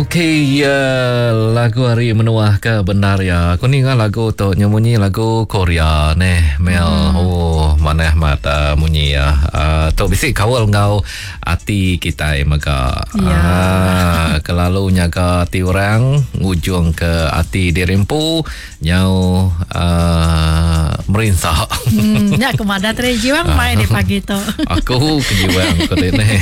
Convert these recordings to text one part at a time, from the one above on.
Okey ya lagu hari menuah ke bendar ya. Aku ninga lagu tu nya munyi lagu Korea neh Mel. Hmm. Oh manah mat uh, munyi ya. Uh, tu bisi kaul enggau ati kitai mega. Ya. Ah, kelalu nyaga ati orang ngujung ke ati diri empu Nyau uh, merinsa. Hmm, nya aku madah tadi jiwang mai di pagi tu. Aku ke jiwang ku dene.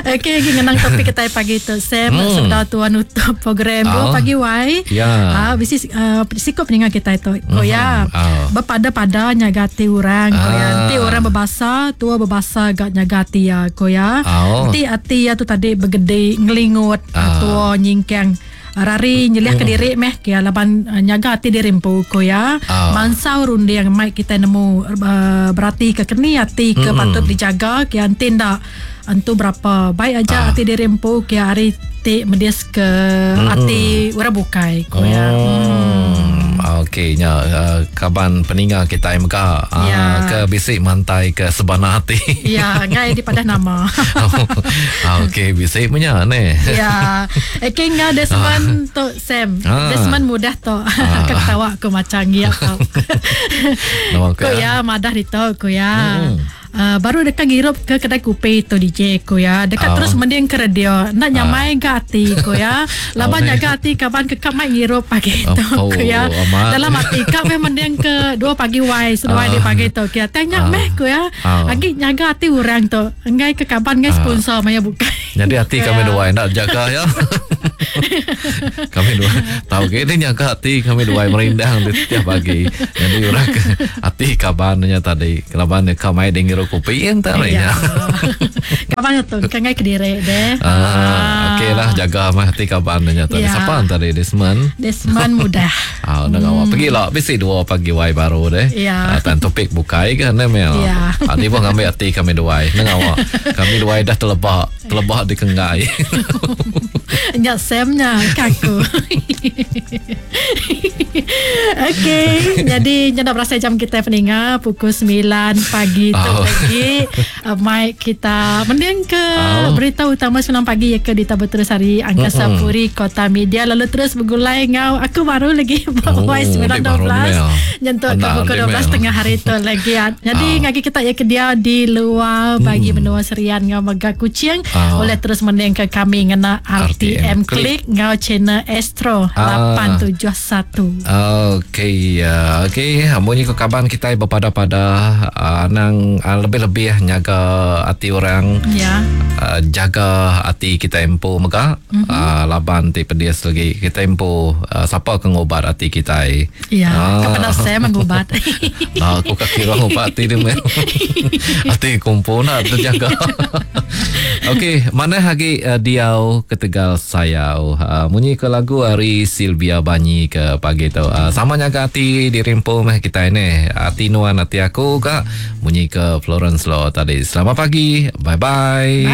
Okey, lagi ngenang topik kita pagi tu. Sam hmm. sebedau tuan nutup program oh. pagi wai. Ya. Ah, bisi uh, sikup ninga kita tu. Oh ya. Oh. Berpada-pada nyaga ati orang. Ko ya. Ah. Enti orang berbasa, tua berbasa gak nyaga ati ya. Ko ya. Oh. Enti ati ya tu tadi begedi ngelingut, Ah. tua nyingkang Rari nyeliah ke diri meh kia laban uh, nyaga ati diri empu ko ya. Ah. Mansau runding mai kita nemu uh, berati ke keni ati ke mm-hmm. patut dijaga kia enti nda entu berapa baik aja Ah. ati diri empu kia ari ti medis ke mm-hmm. ati orang bukai ko ya. Hmm. Okey nya uh, kaban peninga kita mega uh, Ya. ke bisi mantai ke sebana ati. Ya, ngai dipadah nama. Ah, Okey bisi punya ne. Ya. Okey ngau Desmond tu Sam. Ah. Desmond mudah tu. Ah. Ketawa aku macam ngiap tau. Nama Ko ya madah dito ko ya. Hmm. Baru dekat ngirup ke kedai kopi tu DJ ko ya. Dekat Ah. terus mending ke radio. Nak nyamai ke hati ko ya. Laban Oh, jaga hati kaban kekap mai ngirup pagi tu Oh, ko ya. amat. Dalam hati kap meh mending ke 2 pagi wai seduai Ah. di pagi tu kia. Tanya Ah. meh ko ya. Ah. Agi nyaga hati orang tu. Enggai ke kaban ngai sponsor maya bukai. Jadi hati Ko kami ya. dua nak jaga ya. Kami dua tahu ke ini nyaga hati kami dua merindang di setiap pagi. Jadi orang ke hati kabannya tadi. Kelaban kami dengar kopi entar Ya. ya. Kaban tu kan ngai kediri deh. Ah, okey lah jaga mah hati kabannya tadi. Ya. Siapa tadi Desmond? Desmond mudah. Ah, hmm. awak pergi lah. Bisi dua pagi wai baru deh. Ya. Ah, tan topik bukai kan ne Mel. Ya. Ah, ni pun ngambil hati kami dua. Nang awak. Kami dua dah terlebak, terlebak di kengai. Nya Samnya kaku. Okey, jadi nya nak berasa jam kita peninga pukul 9 pagi tu Oh. lagi. Mic kita mending ke Oh. berita utama 9 pagi ya ke di Tabu Terus Hari Angkasa Mm-mm. Puri Kota Media lalu terus bergulai ngau aku baru lagi Oh, oh, dik baru 9.12 Mel. nyentuk ke Tenang, pukul dik 12 Mel. tengah hari tu lagi. Jadi Ah. ngagi kita ya ke dia di luar bagi menua Serian ngau Mega Kuching Ah. boleh terus mending ke kami ngena RTM RTM Klik ngau channel Astro Ah. 871. Okey, ya. Okey, munyi ko kaban kita berpada-pada uh, nang uh, lebih-lebih nyaga hati orang. Ya. Uh, jaga hati kita empu mega mm-hmm. laban ti pedis lagi kita empu siapa ke ngubat hati kita Ya, Ah. kepada saya mengubat. Nah, aku kaki orang ubat hati dia Mel. Hati kumpul nak terjaga. Okey, mana lagi diau ketegal sayau. Munyi ke lagu hari Sylvia Banyi ke pagi tu. Sama nyaga hati diri empu meh kita ini. Hati nuan hati aku kak. Munyi ke Florence Law tadi. Selamat pagi. Bye-bye. Bye.